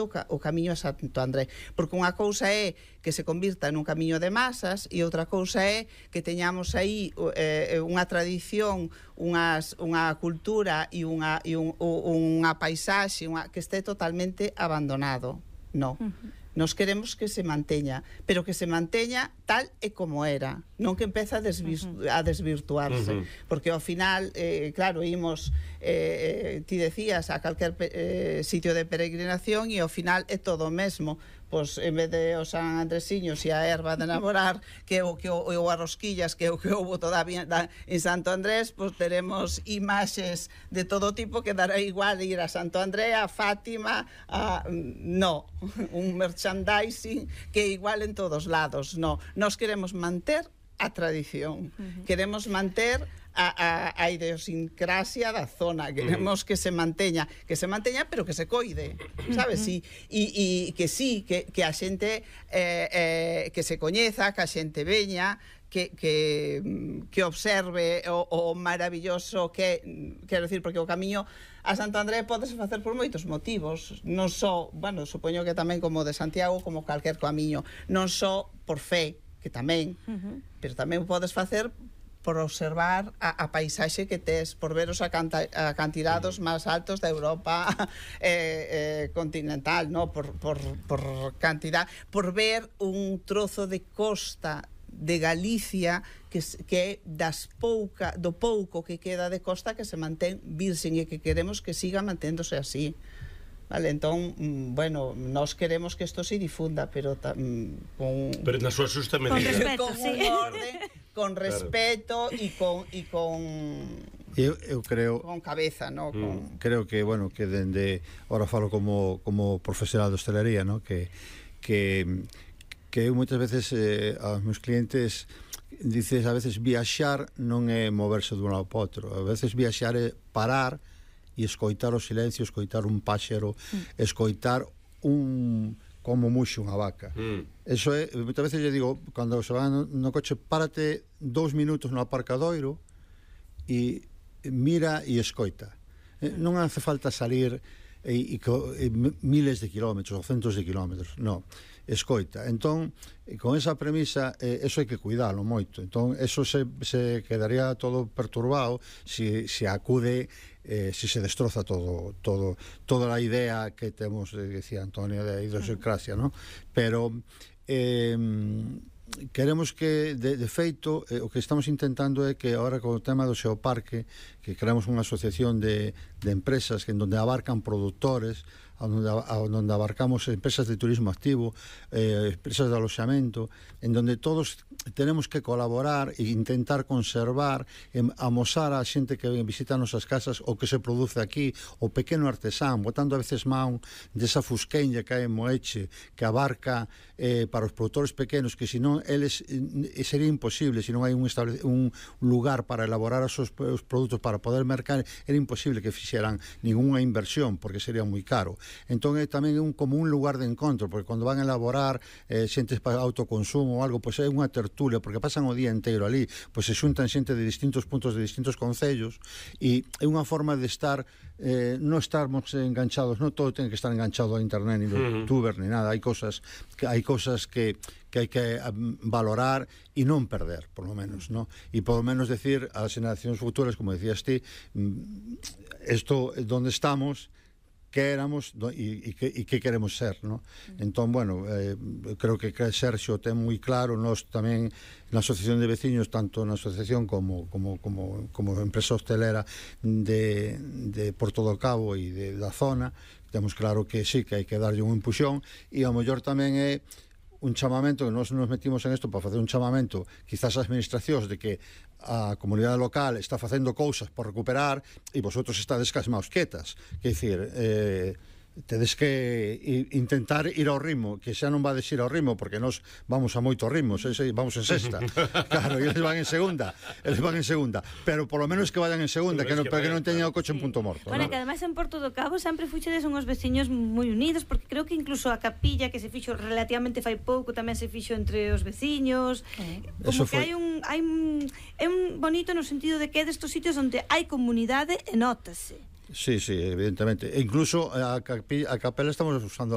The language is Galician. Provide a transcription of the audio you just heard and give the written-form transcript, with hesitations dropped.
o camiño a Santo André, porque unha cousa é que se convirta nun camiño de masas e outra cousa é que teñamos aí unha tradición, unha cultura e unha paisaxe que este totalmente abandonado. No. Nos queremos que se manteña, pero que se manteña tal e como era, non que empeza a desvirtuarse, porque ao final, claro, imos, ti decías, a calquer sitio de peregrinación e ao final é todo o mesmo. Pois en vez de os San Andresiños e a erva de namorar ou a rosquillas que é o que houbo todavía en Santo Andrés, pois teremos imaxes de todo tipo que dará igual ir a Santo André, a Fátima, un merchandising que é igual en todos lados. No, nós queremos manter a tradición, queremos manter a idiosincrasia da zona, queremos que se manteña, pero que se coide, sabes? E que sí, que a xente que se coñeza, que a xente veña, que observe o maravilloso que, quero dicir, porque o camiño a Santo André podese facer por moitos motivos, non só, bueno, supoño que tamén como de Santiago, como calquer camiño, non só por fe, que tamén, pero tamén o podes facer por observar a paisaxe que tes, por ver os acantilados máis altos da Europa continental, no? por cantidad, por ver un trozo de costa de Galicia que é do pouco que queda de costa que se mantén virxen e que queremos que siga manténdose así. Vale, entón, bueno, nós queremos que isto se difunda, pero pero na súa xusta medida. Con respeto, con orden, con respeto e con eu creo con cabeza, no? Creo que, bueno, que dende ahora falo como profesional de hostelería, no? Que eu moitas veces aos meus clientes dices, a veces viaxar non é moverse dun lado para outro, a veces viaxar é parar e escoitar o silencio, escoitar un páxaro, escoitar como muxe unha vaca. Eso é, moitas veces lle digo, cando se van no coche, párate 2 minutos no aparcadoiro e mira e escoita. Non hace falta salir miles de kilómetros ou centos de kilómetros, non, escoita. Entón, con esa premisa, eso hai que cuidalo moito. Entón, eso se quedaría todo perturbado se acude, se destroza toda a idea que temos, decía Antonio, de idiosincrasia, non? Pero queremos que, de feito, o que estamos intentando é que agora con o tema do Xeoparque, que creamos unha asociación de empresas que en donde abarcan productores, onde abarcamos empresas de turismo activo, empresas de aloxamento, en donde todos tenemos que colaborar e intentar conservar, amosar a xente que visita nosas casas o que se produce aquí, o pequeno artesán, botando a veces man desa fusqueña que hai en Moeche, que abarca para os produtores pequenos, que senón eles sería imposible, se non hai un lugar para elaborar os seus produtos para poder mercar, era imposible que fixeran ninguna inversión, porque sería moi caro. Entón é tamén como un lugar de encontro, porque cando van a elaborar xentes para autoconsumo ou algo, pois é unha tertulia, porque pasan o día inteiro ali, pois se xuntan xente de distintos puntos de distintos concellos, e é unha forma de estar, non estarmos enganchados, non todo ten que estar enganchado a internet, ni youtuber, ni nada. Hai cousas que hai que valorar e non perder, por lo menos, ¿no? E por lo menos decir ás xeracións futuras, como decías ti, isto donde estamos, que éramos e que queremos ser, ¿no? Entón, bueno, creo que Sergio ten moi claro, nós tamén na asociación de veciños, tanto na asociación como empresa hostelera de Porto do Cabo e da zona, temos claro que sí, que hai que darlle un empuxón, e ao mellor tamén é un chamamento, que nós nos metimos en isto para facer un chamamento quizás ás administracións de que a comunidade local está facendo cousas por recuperar e vosotros estades casmaos quietas, que dicir, tedes que intentar ir ao ritmo, que xa non vades ir ao ritmo, porque nós vamos a moitos ritmos, vamos en sexta, claro, e eles van en segunda, pero por lo menos que vayan en segunda, que non teñan o coche en punto morto. Bueno, que ademais en Porto do Cabo sempre fuchedes unhos veciños moi unidos, porque creo que incluso a capilla que se fixo relativamente fai pouco tamén se fixo entre os veciños, como que hai un bonito no sentido de que é destos sitios onde hai comunidade e nótase. Sí, evidentemente. E incluso a capela estamos usando